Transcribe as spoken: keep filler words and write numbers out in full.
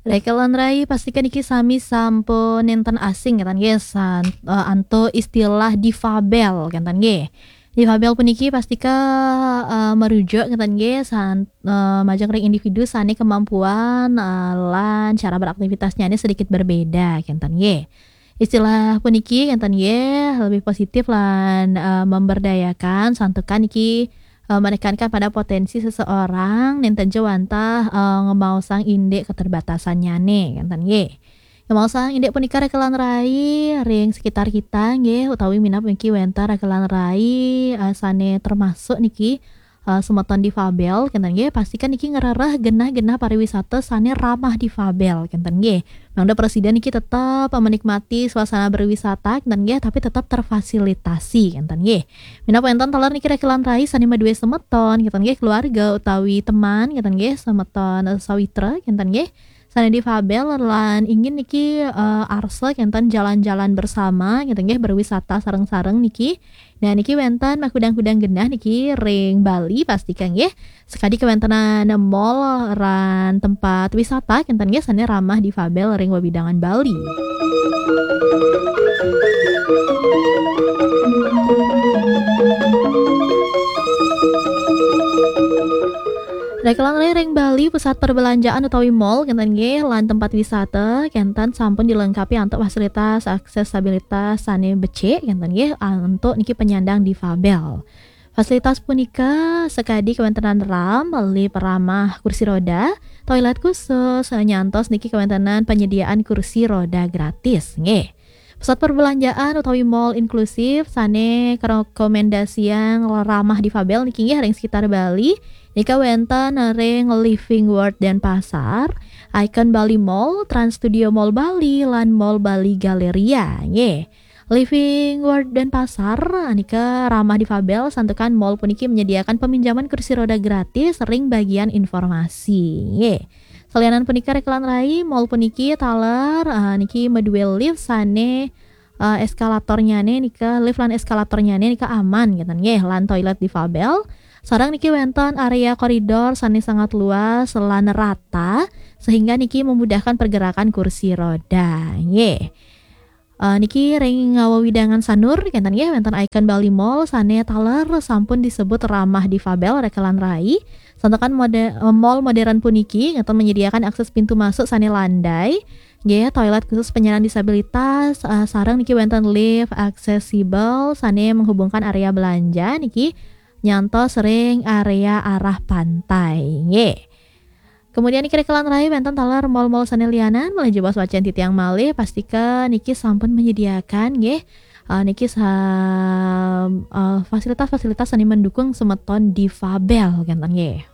Rekelan rai, pastika niki sami sampun nenten asing kenten nggih, san-, eh, antuk istilah difabel kenten nggih. Difabel puniki pastika, eh, merujuk kenten nggih, san-, eh, majeng ring individu sane kemampuan, eh, lan cara beraktivitasnya ini sedikit berbeda kenten nggih. Istilah puniki kenten nggih lebih positif lan, eh, memberdayakan, santukan niki, eh, menekankan pada potensi seseorang nenten ja wantah, eh, ngemaosang indik keterbatasannyane kenten nggih. Ngemaosang indik punika rekelan rai ring sekitar kita nggih, utawi minab mungkin wenten rekelan rai, eh, sane termasuk niki, eh, semeton difabel kenten nggih, pastikan niki ngrereh genah-genah pariwisata sane ramah difabel kenten nggih. Mangda presiden niki tetap menikmati suasana berwisata kenten nggih, tapi tetap terfasilitasi kenten nggih. Minab wenten taler niki rekelan rai sane madue semeton kenten nggih, keluarga utawi teman kenten nggih, semeton, eh, sawitra kenten nggih, sane difabel lan ingin niki, eh, arsa kenten jalan-jalan bersama kenten nggih, berwisata sareng-sareng niki. Nah, niki wenten makudang-kudang genah niki ring Bali pastika nggih. Sakadi kawentenan mall lan tempat wisata kenten nggih sane ramah difabel ring wewidangan Bali. Rekelan rai ring Bali, pusat perbelanjaan utawi mall kenten nggih, lan tempat wisata kenten sampun dilengkapi antuk fasilitas aksesabilitas sane becik kenten nggih, antuk niki penyandang difabel. Fasilitas punika sakadi kawentenan ramp, lift ramah kursi roda, toilet khusus, nyantos niki kawentenan penyediaan kursi roda gratis nggih. Pusat perbelanjaan utawi mall inklusif sane karekomendasiang ramah difabel niki nggih ring sekitar Bali. Nika wenten ring Living World Denpasar, Icon Bali Mall, Trans Studio Mall Bali, lan Mall Bali Galleria nggih. Living World Denpasar nika ramah difabel, santukan mall puniki menyediakan peminjaman kursi roda gratis ring bagian informasi nggih. Salianan punika rekelan rai, mall puniki taler, eh, niki madue lift sane, eh, eskalatornyane nika, lift lan eskalatornyane nika aman kenten nggih, lan toilet difabel. Sareng niki wenten area koridor sane sangat luas lan rata, sehingga niki memudahkan pergerakan kursi roda nggih. Eh, niki ring wewidangan Sanur kenten nggih, wenten Icon Bali Mall sane taler sampun disebut ramah difabel rekelan rai. Santukan mode-, eh, mall modern puniki ngeten menyediakan akses pintu masuk sane landai nggih, toilet khusus penyandang disabilitas, eh, sareng niki wenten lift aksesibel sane menghubungkan area belanja niki nyantos ring area arah pantai nggih. Kemudian niki rekelan rai wenten taler mall-mall sane lianan, malih jebos wacen titiang malih, pastika niki sampun menyediakan nggih, eh, niki sa-, eh, fasilitas-fasilitas sane mendukung semeton difabel kenten nggih.